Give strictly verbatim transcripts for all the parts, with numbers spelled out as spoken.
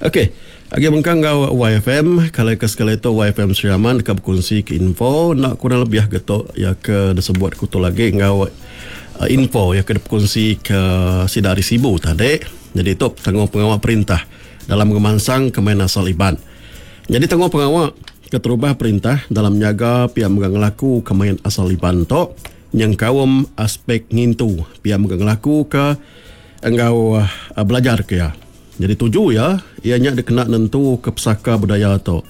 Okey, agi mengkang enggau Y F M, kalau ke sekali tu Y F M Sri Aman ke berkongsi ke info nak kurang lebih getok ya ke disebut kutu lagi enggau uh, info ya ke berkongsi ke sida ari Sibu tadi. Jadi tu tanggung pengawal perintah dalam ngemansang ke main asal Iban. Jadi tanggung pengawal keterubah perintah dalam nyaga pihak megang ngelaku ke main asal Iban tu yang kaum aspek ngintu pihak megang ngelaku ke enggau uh, belajar ke ya. Jadi tuju ya, ianya dikena nentu ke pesaka budaya tu.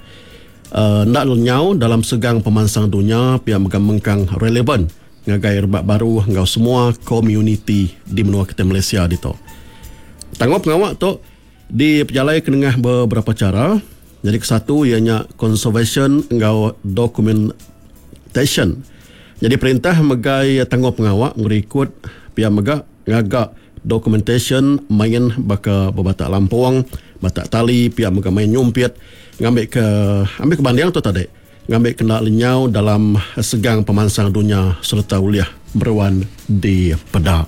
Uh, ndak lenyau dalam segang pemansang dunia pihak megang mengkang relevan ngagai rebak baru enggau semua komuniti di menua kita Malaysia ditu. Tanggung pengawal tu dipejalai ke nengah beberapa cara. Jadi kesatu ianya conservation enggau documentation. Jadi perintah megai tanggung pengawal ngerikut pihak mega ngagak documentation main baka berbatak lampung, batak tali, pihak mega main nyumpit, ngambil ke ambil ke banding tu tadi, ngambil kena lenyau dalam segang pemansang dunia serta uliah meruan di pedak.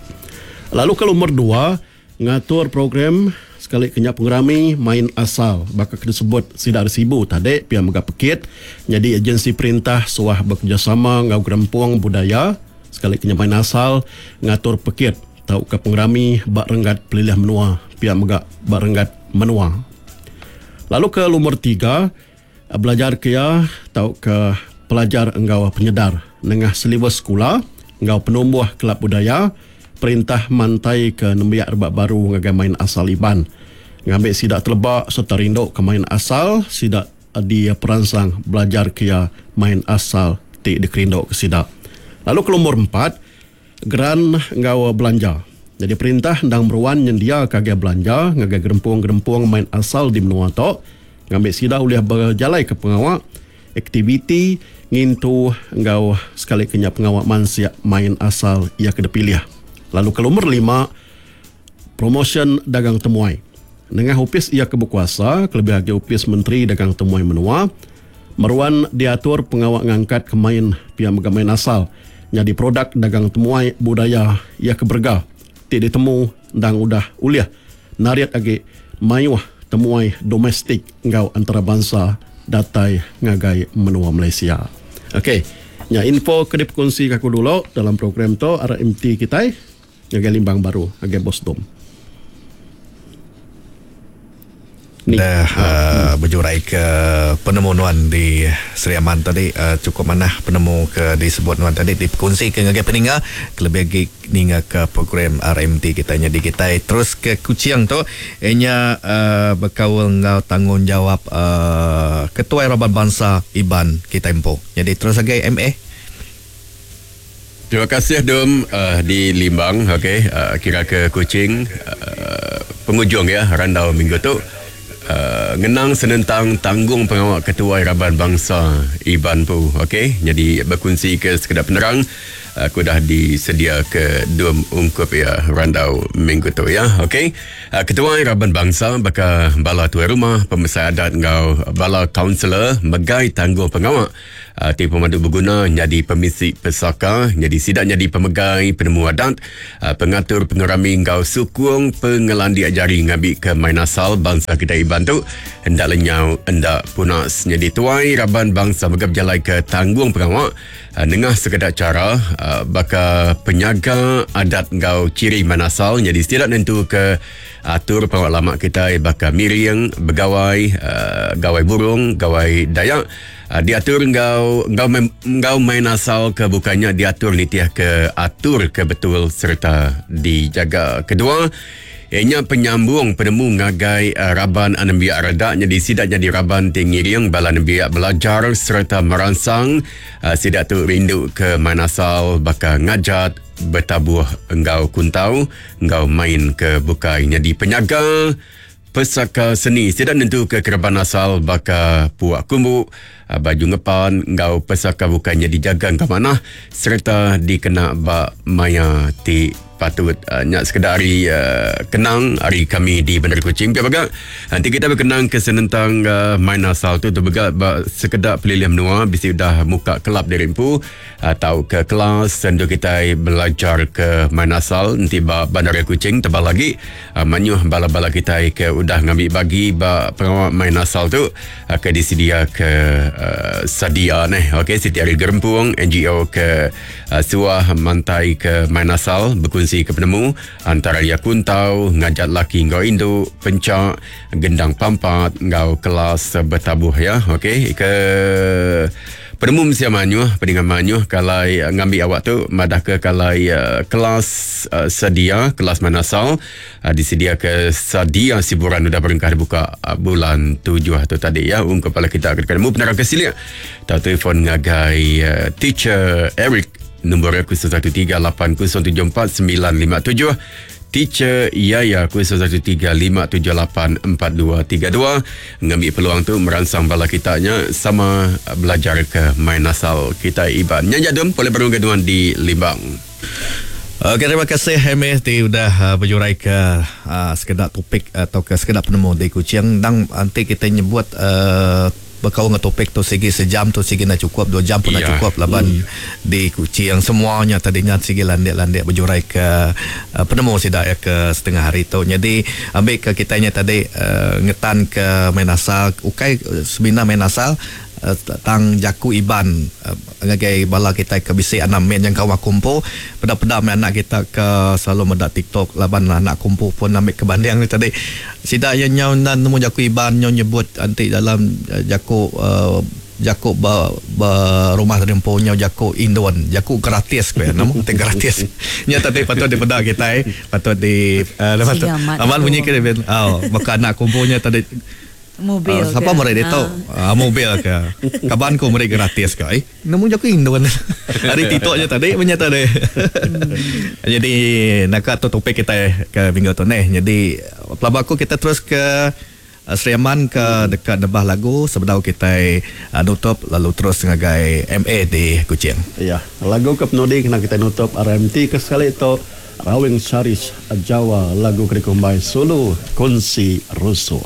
Lalu ke nomor dua, ngatur program sekali kenyak pengerami main asal baka kena sebut sida ari Sibu tadi pihak mega pekit. Jadi agensi perintah suah bekerjasama enggau gerempung budaya sekali kenyak main asal ngatur pekit tau ke pengerami bak renggat pelilih menua pihak mega bak renggat menua. Lalu ke nomor tiga, belajar kia tau ke pelajar enggau penyedar nengah silibus sekolah enggau penumbuh kelab budaya perintah mantai ke nembiak rebak baru ngagai main asal Iban. Ngambil sidak telebak serta rindu ke main asal, sidak di peransang belajar kia main asal ti dikerindu ke sidak. Lalu ke nomor empat, geran enggau belanja. Jadi perintah ndang meruan nyendia kagai belanja ngagai gerempung-gerempung main asal di menua tu ngambil sidak ulih berjalai ke pengawak aktiviti ngintu enggau sekali kenya pengawak mansia main asal ia ke dipilih. Lalu ke nomor lima, promotion dagang temuai. Nengah upis ia ke berkuasa, kelebih lagi upis Menteri Dagang Temuai Menua, meruan diatur pengawak ngangkat ke main pihak mega main asal jadi produk dagang temuai budaya ia ke berga ti ditemu ndang udah uliah nariat agi mayuh temuai domestik enggau antarabangsa datai ngagai menua Malaysia. Okey, nya info ke dikongsi aku dulu dalam program tu R M T kita ngagai Limbang baru ngagai Bos Dom. Ni. Dah uh, berjurai ke penemu nuan di Sri Aman tadi, uh, cukup manah penemu ke disebut nuan tadi dikongsi ke ngagai peninga kelebih lagi ninga ke program R M T kita nya di kita terus ke Kuching tu ianya uh, berkaul enggau tanggungjawab uh, Ketua Raban Bangsa Iban kita empu. Jadi terus lagi M A. Terima kasih Dom uh, di Limbang, okey, uh, kira ke Kuching uh, penghujung ya randau minggu tu. Uh, ngenang senentang tanggung pengawal Ketua Raban Bangsa Iban pu, okey. Jadi berkongsi ke sekedar penerang aku dah disedia ke Dom ungkup ya randau minggu tu ya, okey. Uh, Ketua Raban Bangsa baka bala tuai rumah, pemesai adat enggau bala kaunselor megai tanggung pengawal uh, ti pemandu berguna jadi pemisi pesaka, jadi sidak jadi pemegai penemu adat, uh, pengatur pengerami enggau sukung pengelandik jari ngambil ke main asal bangsa kita Iban tu hendak lenyau hendak punas. Jadi tuai Raban Bangsa megap jalai ke tanggung pengawal uh, nengah sekedar cara uh, baka penyaga adat enggau ciri main asal. Jadi setiap nentu ke atur pengawal lama kita baka miring, begawai, uh, gawai burung, gawai Dayak. Uh, diatur enggau enggau main, enggau main asal ke bukannya diatur nitiah ke atur ke betul serta dijaga. Kedua, ianya penyambung penemu ngagai uh, raban anembiak redak jadi sidak jadi raban tingiring bala nembiak belajar serta merangsang uh, sidak tu rindu ke main asal baka ngajat bertabuh enggau kuntau enggau main ke bukai. Jadi penyaga pesaka seni sidak nentu ke keraban asal baka puak kumbu, baju ngepan enggau pesaka bukannya dijaga enggau manah serta dikena ba maya ti Patut uh, nyak sekedar hari uh, kenang hari kami di Bandar Kuching. Pia baga nanti kita berkenang ke senentang uh, main asal tu tu baga ba, sekedar pelilih menua bisi udah muka kelab diri empu atau ke kelas sendu kita belajar ke main asal nanti ba Bandar Kuching tebal lagi uh, manyuh bala-bala kita ke udah ngambil bagi ba pengawal main asal tu uh, ke disedia ke uh, sadia neh. Okey, Siti Ari Gerempung N G O ke uh, suah mantai ke main asal berkongsi ke penemu antara ia kuntau ngajat laki ngau indu pencak gendang pampat ngau kelas bertabuh ya. Okey, ke penemu mesti manyuh pendengar manyuh kalai uh, ngambil awak tu madah ke kalai uh, kelas uh, sedia kelas manasal uh, disedia ke sedia siburan udah berengkah dibuka uh, bulan tujuh tu tadi ya. Um kepala kita akan ketemu penerang ke silik atau telefon ngagai uh, teacher Eric nombor aku satu tiga lapan kosong tujuh empat sembilan lima tujuh, Teacher Yaya kosong satu tiga lima tujuh lapan empat dua tiga dua. Ngambil peluang tu merangsang bala kitanya sama belajar ke main asal kita Iban. Nyanyi dum boleh berunggaduan di Limbang. Okey, terima kasih Hermes di udah uh, berjurai ke uh, sekedar topik atau ke sekedar penemu di Kuching. Dan nanti kita nyebut uh, berkawan dengan topik tu segi sejam tu segi nak cukup, dua jam pun nak Ya. cukup laban Hmm. di Kuching semuanya tadinya segi landik-landik berjurai ke uh, penemu sidak ya ke setengah hari tu. Jadi ambil ke kitanya tadi uh, ngetan ke main asal ukai seminar main asal uh, tang jaku iban uh, ngagai bala kita ke bisi anak men yang kawan kumpul peda-peda main anak kita ke selalu medak TikTok laban anak kumpul pun ambil kebanding ni tadi sidak yang nyau nan nemu jaku iban nyau nyebut anti dalam uh, jaku uh, jaku ba, ba rumah tadi empu nyau jaku Indon jaku gratis ke nama te gratis nya tadi patut dipeda kita eh patut di uh, lepas tu Siamat amat tu. bunyi ke dia oh maka anak kumpulnya tadi Mobil Uh, siapa ke? mereka itu? Ah. Uh, mobil ke? Kaban ku mereka gratis ke? Eh, namun jaku Indon. Hari titok je tadi punya tadi. Jadi nak tu topik kita ke minggu tu ni. Jadi pelaba aku kita terus ke uh, Sri Aman ke dekat Nebah Lagu sebelum kita uh, nutup lalu terus ngagai M A di Kuching. Ya, lagu ke penudi kena kita nutup R M T ke sekali itu Rawing Saris Jawa lagu Kerikumbai Sulu Kunsi Rusuh.